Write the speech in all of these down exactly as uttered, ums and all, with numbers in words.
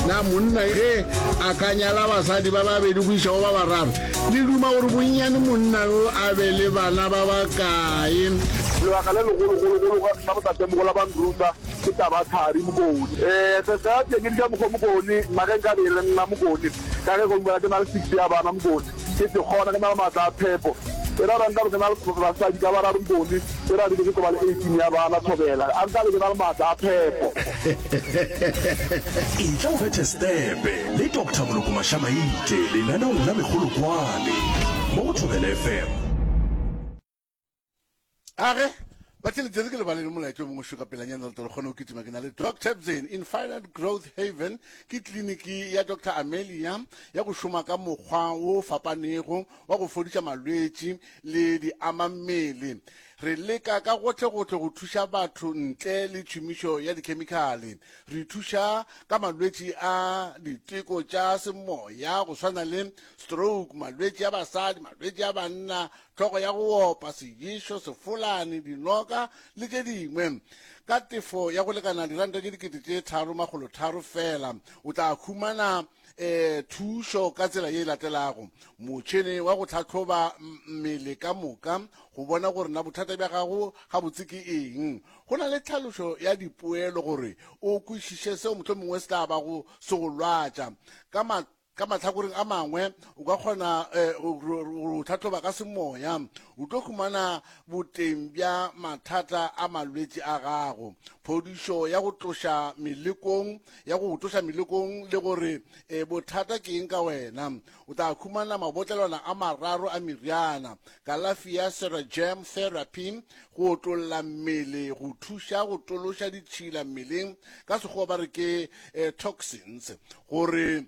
Na monna ge a ka nyala basadi ba babedi go iša go ba bararo, le duma gore bonnyane monna yo a be le bana ba bakae? Lebaka le legologologolo la botatemogolo ba nruta ke taba ya thari Mokone. Ee, se sa teng di ka mokgwa Mokone, nna ge nka be e le nna Mokone, ka ge gongwe ke na le six ya bana Mokone, ke ke kgona ke na le maatla a phepo. E ra gore nka be ke na le basadi ka bararo Mokone, e ra re ke tlo ba le eighteen ya bana thobela, a nka be ke na le maatla a phepo. Etla o bethe stepe le Doctor Moloko Mashamaite lenaneong la Mekgolokwane mo go Thobela F M. Age, ba tšhelete ke lebale le molaetša o mongwe šo ka pelanyana re tle re kgone go kitima. Ke na le Doc Tebzen, Infinite Growth Haven ke kliniki ya Doctor Amelia ya go šoma ka mokgwa wo fapanego wa go fodiša malwetši le di ama mmele. Re leka ka gohle-gohle go thuša batho ntle le tšhomišo ya dikhemikhale. Re thuša ka malwetši a diteko tša semoya go swana le stroke, malwetši a basadi, malwetši a banna, hlogo ya go opa, seješo, sefolane, dinoka le tše dingwe. Ka tefo ya go lekana diranta tše dikete tše tharo makgolo tharo fela, o tla humana eh thušo ka tsela ye e latelago. Motšhene wa go tlhahloba mmele ka moka go bona gore na bothata bja gago gabotse ke eng. Go na le tlhalošo ya dipoelo gore o kwešiše seo mohlomongwe se tla bago se go lwatša. Ka ma-, ka mahlakoreng a mangwe o ka kgona, eh, go, go, go tlhahloba ka semoya, o tlo humana boteng bja mathata a malwetši a gago, phodišo ya go tloša melekong, ya go tloša melekong le gore, eh, bothata ke eng ka wena. O tla humana mabotlelwana a mararo a meriana, kalafi ya Ceragem therapy go otlolla mmele, go thuša go tološa ditšhila mmeleng, ka sekgowa ba re ke, eh, toxins, gore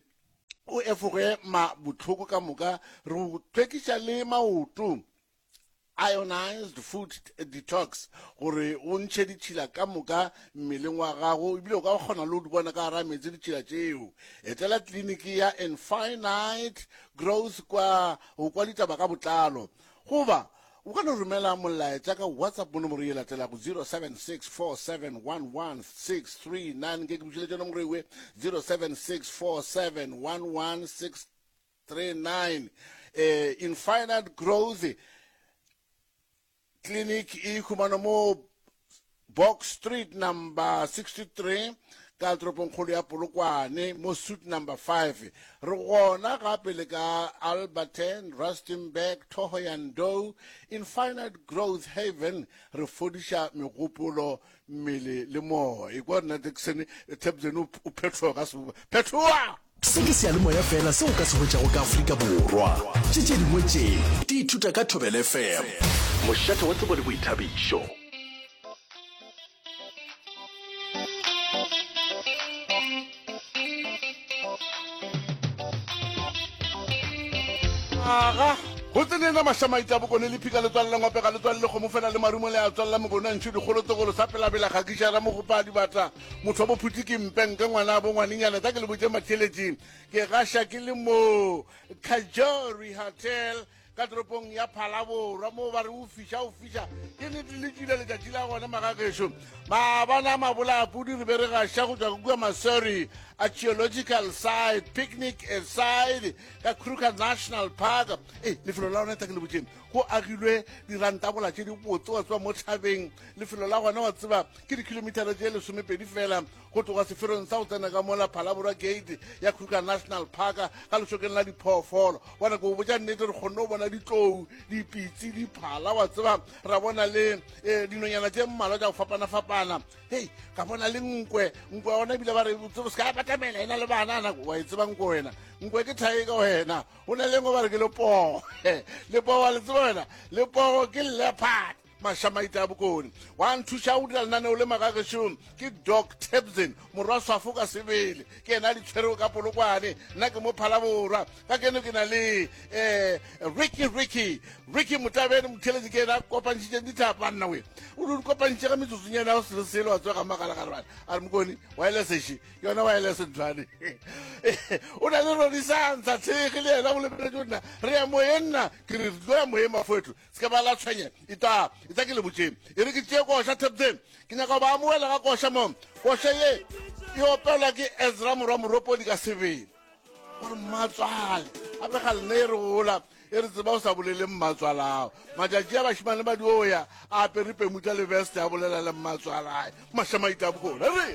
o efoge ma bohloko ka moka. Re go hlwekiša le maoto, ionized food detox, gore o ntšhe ditšhila ka moka mmeleng wa gago, ebile o ka kgona le go di bona ka gare ga meetse ditšhila tšeo. Etela kliniki ya Infinite Growth kwa go kwa ditaba ka botlalo, goba o ka no romela molaetša ka WhatsApp mo nomoro ye latelago zero seven six four seven one one six three nine. Ke ke bušeletše nomoro ewe zero seven six four seven one one six three nine. Eh, Infinite Growth Clinic e humanwa mo Box Street number sixty-three ka toropongkgolo ya Polokwane mo suite number five. Re gona gape le ka Alberton, Rustenburg, Thohoyandou. Infinite Growth Haven re fodiša megopolo, mmele le moya. E kwa rena Jackson, Tebzen o, o phethoga ka seboba. Phethoga! Se ke seyalemoya fela seo o ka se hwetšago ka Afrika Borwa. Tše tše dingwe tše di ithuta ka Thobela F M. Mošate wa tsebo le boithabišo. Aga, go tseneng mašamaite a bokone le phika le tswalle ngwape ga le tswalle kgomo fela le marumo le a tswalla mokone a ntšho dikgolo tsogolo sa pelabela ga kiša ramogopa a dibata motho wa bophuti ke mpenke ngwana a bo ngwanenyana tla ke le botse matheletšeng ke gaša ke le mo Kajori Hotel ka toropong ya Phalaborwa mo ba re o fiša o fiša ke nnete le tšwile letšatši la gona magagešo maabana mabola a pudi re be re gaša go tšwa kua Masori Archaeological Site picnic site ka Kruger National Park. E lefelo la gona tla ke le botšeng go agilwe dirantabola tše di botse wa tseba mo thabeng. Lefelo la gona wa tseba ke dikilometara tše lesomepedi fela go tloga seferong sa go tsena ka mola Phalaborwa Gate ya Kruger National Park ka lešokeng la diphoofolo. Bona ke go botša nnete re kgonne go bona ditlou, dipitsi, diphala wa tseba ra bona le, eh, dinonyana tše mmalwa tša go fapana-fapana. Hei, ka bona le nkwe, nkwe ya gona ebile ba re o se ka batamela ena le bana, na wa e tseba nkwe wena, nkwe ke thae ka wena. Go na le nngwe ba re ke lepogo, lepogo wa le tseba wena, lepogo ke leopard. Mašamaite a bokone wa nthuša go dira lenaneo le magagešong ke Doc Tebzen morwa Swafo ka sebele, ke yena a di tshwerego ka Polokwane, nna ke mo Phalaborwa. Ka keno ke na le, eh, Ricky, Ricky, Ricky Motabene motheletši ke yena a kopantšhitšeng dithapa nna we o di kopantšhitše ka metsotsonyana ya go se le selo wa tsoga magalagare bana a re mokone wireless eše ke yona wireless nthwane o na le Rodisantsha tshege le yena go lebeletše nna re ya moyeng nna ke re re tlo ya moyeng mafoetho se ka ba la tshwenya e tla e tla ke le botšeng e re ke tšee koša Tebzen ke nyaka go ba amoela ka koša mo koša ye E opelwa ke Ezra morwa Moropodi ka sebele. Gore mmatswale gape ga lena e re gola e re tseba o sa bolele mmatswalao. Matšatši a bašemane ba dio ya a apere pemutla le veste a bolela le mmatswalae. Mašamaita a bokone re.